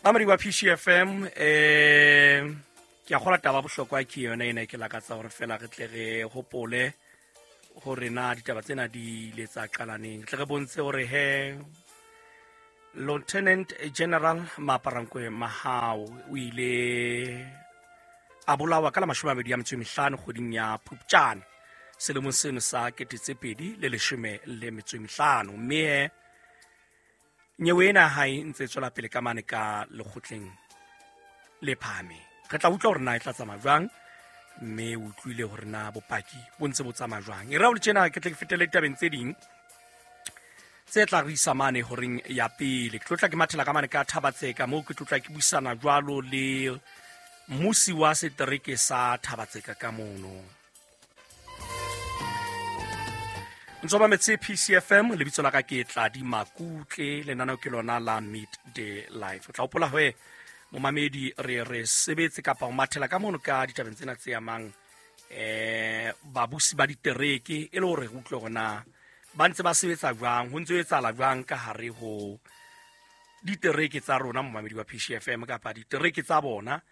Mamedi wa PCFM, ke a kgola taba bohlokwa ke yona ena, ke lakatsa hore fela re tle re hopole hore na ditaba tsena di ile tsa qalaneng, tle re bontshe hore he Lieutenant General Maaparankoe Mahao o ile a bolawa ka la 25 kgweding ya Phupjane selemong seno sa 2015, mme nyewe ena hae ntse e tswela pele ka mane ka lekgotleng le phahameng. Re tla utlwa hore na e tla tsamaya jwang, mme o utlwile hore na bopaki bo ntse bo tsamaya jwang. E re ha o le tjena, ke tle ke fetele ditabeng tse ding tse tla re isa mane horeng ya pele. Ke tlotla ke mathela ka mane ka Thabatseka, moo ke tlotla ke buisana jwalo le mmusi wa setereke sa Thabatseka ka mono. Ntso ba metse PCFM, lebitso la ka ke Tladi Makutle, lenaneo ke lona la Midday Life. O tla hopola hoe momamedi re sebetse kapa ho mathela ka mono ka ditabeng tsena tse amang babusi ba ditereke, e le hore re utlwe hore na ba ntse ba sebetsa jwang, ho ntse ho etsahala jwang ka hare ho ditereke tsa rona momamedi wa PCFM kapa ditereke tsa bona.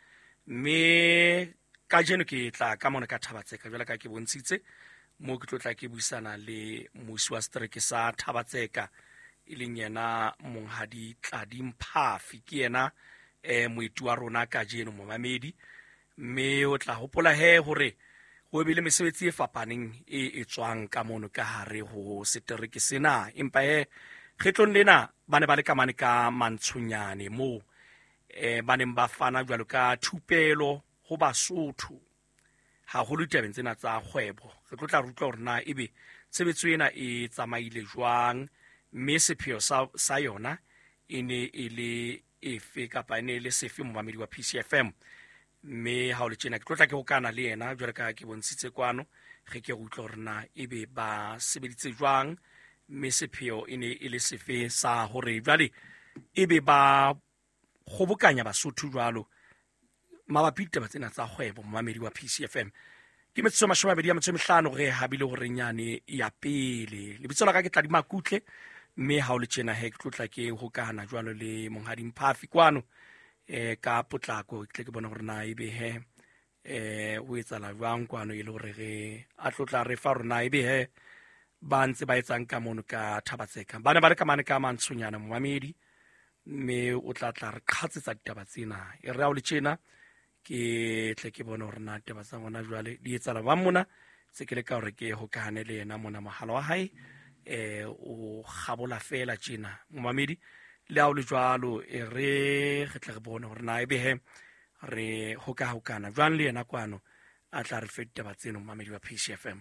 Mme kajeno ke tla ka mona ka Thabatseka jwale ka ke bontshitse mo ke tlotla ke buisana le mmusi wa setereke sa Thabatseka, e leng yena Monghadi Tladi Mphafi. Ke yena moeti wa rona kajeno momamedi, mme o tla hopola he hore ho bile mesebetsi e fapaneng e etswang ka mono ka hare ho setereke sena. Empa he kgetlong lena ba ne ba le ka mane ka Mantshonyane moo ba neng ba fana jwalo ka thupelo ho Basotho haholo ditabeng tsena tsa kgwebo. Re tlo tla re utlwa hore na ebe tshebetso ena e tsamaile jwang, mme sepheo sa yona e ne e le efe kapa e ne e le sefe momamedi wa PCFM. Mme ha o le tjena ke tlo tla ke hokana le yena jwalo ka ke bontshitse kwano, re ke re utlwe hore na ebe ba sebeditse jwang, mme sepheo e ne e le sefe sa hore jwale ebe ba kgobokanya Basotho jwalo mabapi ditaba tsena tsa kgwebo. Momamedi wa PCFM, ke metsotso 25 re habile hore nyane ya pele. Lebitso la ka ke Tladi Makutle, mme ha o le tjena he ke tlotla ke hokahana jwalo le Monghadi Mphafi kwano ka potlako, ke tle ke bone hore na ebe he ho etsahala jwang kwano, e le hore re a tlotla re fa rona ebe he ba ntse ba etsang ka mono ka Thabatseka. Ba ne ba le ka mane ka Mantshonyana momamedi, mme o tla tla re qhatsetsa ditaba tsena. E re ha o le tjena ke tle ke bone hore na taba tsa ngwana jwale di etsahala ba mona, tse ke le ka hore ke hokahane le yena mona, mohala wa hae o kgabola fela tjena momamedi. Le ha o le jwalo, e re re tle re bone hore na ebe he re hokahokana jwang le yena kwano, a tla re fe ditaba tseno momamedi wa PCFM.